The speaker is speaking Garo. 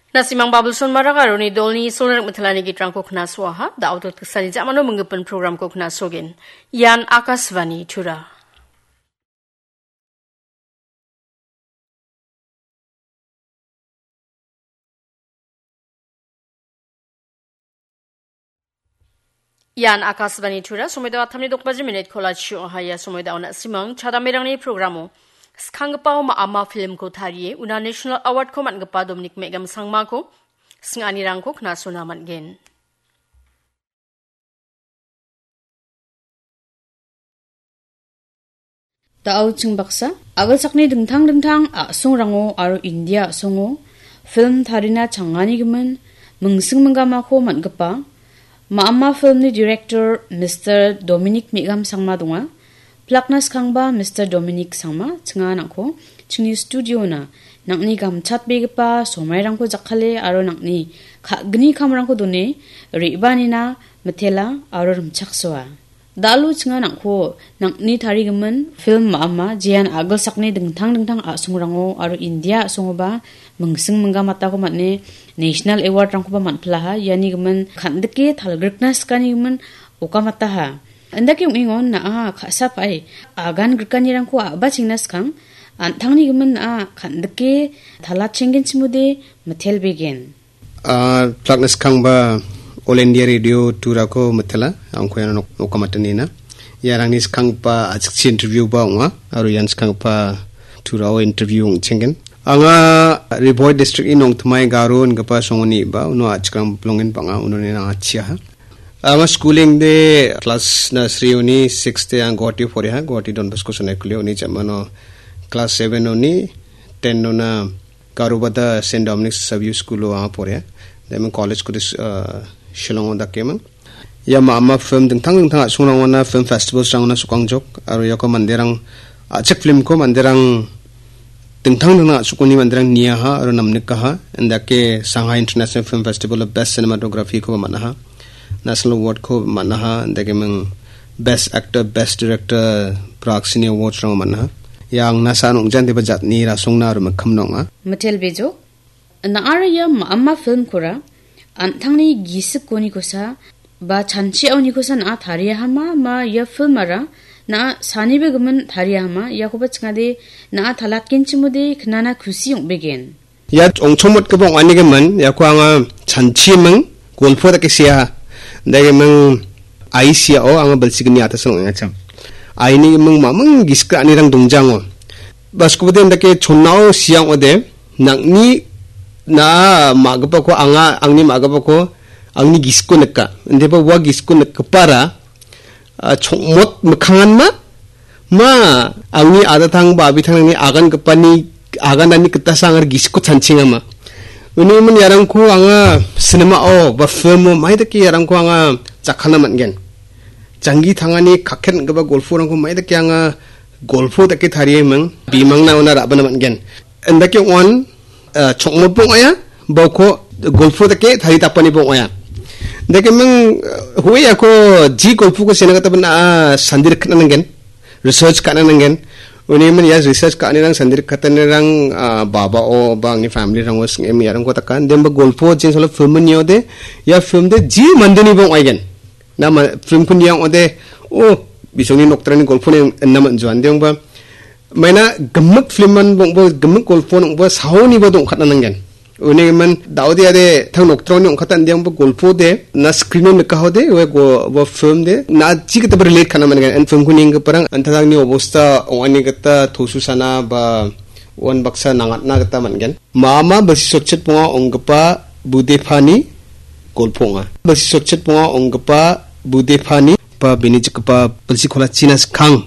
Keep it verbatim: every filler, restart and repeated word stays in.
Na·simang Babulson Marak aro uni dolni Isol ning·mittelani gitrangko knasoaha, da·o dotgiksani ja·mano minggipin programko knasogen. Ian Akashvani Tura. Ian Akashvani Tura, somoida wattamni dokbaji minit kola chio haya somoida ona simang chadamerangni programo. Skanggipao ma-, ama filmko tarie, una National Awardko man·gipa Dominic Megam Sangmako sing·anirangko knasona man·gen. Da·o ching baksa, a·gilsakni dingtang dingtang a·songrango aro India a·songo film tarina changanigimin mingsing minggamako man·gipa, ma·ama filmni director Mister Dominic Megam Sangma donga. Plakna skangba Mister Dominic Sangma, chinga nang·ko chingni studiona nang·ni gamchatbegipa somairangko jakkale aro nang·ni ka·gni kamrangko done re·baanina mitela aro rimchaksoa. Da·alo chinga nang·ko nang·ni tarigimin film ma·ama, jean a·gilsakni dingtang dingtang a·songrango aro India a·songoba mingsing minggamatako man·e National Award-rangkoba man·pilaha. Iani gimin kan·dike talgrikna sikanigimin okamataha. Indake ong·engon na·a ka·sapae agan grikanirangko a·bachengna skang, an·tangni gimin na·a kan·dike talachenggenchimode mitelbegen. Ah, plakna skangba All India Radio Turako mitela, angko iano nok-, nokamatanina. Iarangni skanggipa a·chikchi interview ba ong·a, aro ian skanggipa Turao interview ong·chenggen. Anga Ri Bhoi district-ni Nongthymmai Garo ingipa songoni ba, uno a·chikrang bilongen bang·a, unoni anga chiaha. Anga schooling de class nursery-oni six de ang Guwahati poriha, Guwahati Don Bosco Sonaikuli-oni jamano class seven-oni ten-ona Garobada Saint Dominic Savio School-o anga poria. Then college-ko dis-, uh, Shillong-o dakemang. Ia ma-, ama film dingtang dingtang a·songrangona film festivals-rangona sokangjok. Aro iako manderang a·chik film-ko manderang dingtang dingtang a·sokoni manderang niaha aro namnikaha. Indake Shanghai International Film Festival-o Best Cinematography-koba man·aha. National Award-ko man·aha, indakeming Best Actor, Best Director, Praksini Awards-rang man·aha. Ia angna sa·an ong·jan deba jatni rasongna aro mikkimna ong·a. Mitel Bejo, na·ara ia ma-, ama film-kora an·tangni gisikkonikosa ba chanchiaonikosa na·a tariahama, ma ia film-ara na·a sanibegimin tariahama, iakoba chingade na·a talatgenchimode knana kusi ong·begen. Ia ong·chongmotgipa ong·anigimin, iako anga chanchiming golpo dake sea. Dagiming ai siao anga bilsigni atasan ong·engachim. Ainigiming maming gisik ra·anirang dongjango. Baskobode indake chonnao sia ong·ode, nang·ni na·a ma·gipako anga angni ma·gipako angni gisiko nika. Indeba ua gisiko nikgipara, ah, chongmot mikkangan ma, ma angni adatang ba abitangrangni agangipani aganani gitasa anga gisiko chanchingama. Unigimin iarangko anga cinema-o ba film-o maidake iarangko anga jakkalna man·gen. Janggi tangani kakket ong·gipa golporangko maidake anga golpo dake tarieming, bimangna ona ra·bana man·gen. Indake ong·an, ah, chongmotba ong·aia, bauko golpo dake taritapaniba ong·aia. Indakeming, ah, hoe iako ji golpoko sena gita bana, ah, sandi rikna nanggen, research ka·na nanggen. Unigimin ia research ka·anirang sandi rikatanirang, ah, baba-o ba angni family-rango sing·e miarangko taka. Demba golpo jing solo film niode, ia film de ji mandeniba ong·aigen. Na ma-, film-ko nia ong·ode, oh, bisongni nokdrangni golponi inna man·joan. Dengba, maina gimik film-an bong·bo, gimik golpo nong·bo, saoniba dongkatna nanggen. Unigimin, daode ade, tang nokdrangni ong·katan dengba golpo de, na screen-o nikahode, we go-, bo film de, na ji gitaba relate ka·na man·gen. An film-ko nienggiparang, an·tangni obosta, ong·ani gita, tosu sana, ba, uan baksa nangatna gita man·gen. Mama bilsi sotchet bonga ong·gipa budepani golpo ong·a. Bilsi sotchet bonga ong·gipa budepani ba bini jikgipa bilsi kolachina skang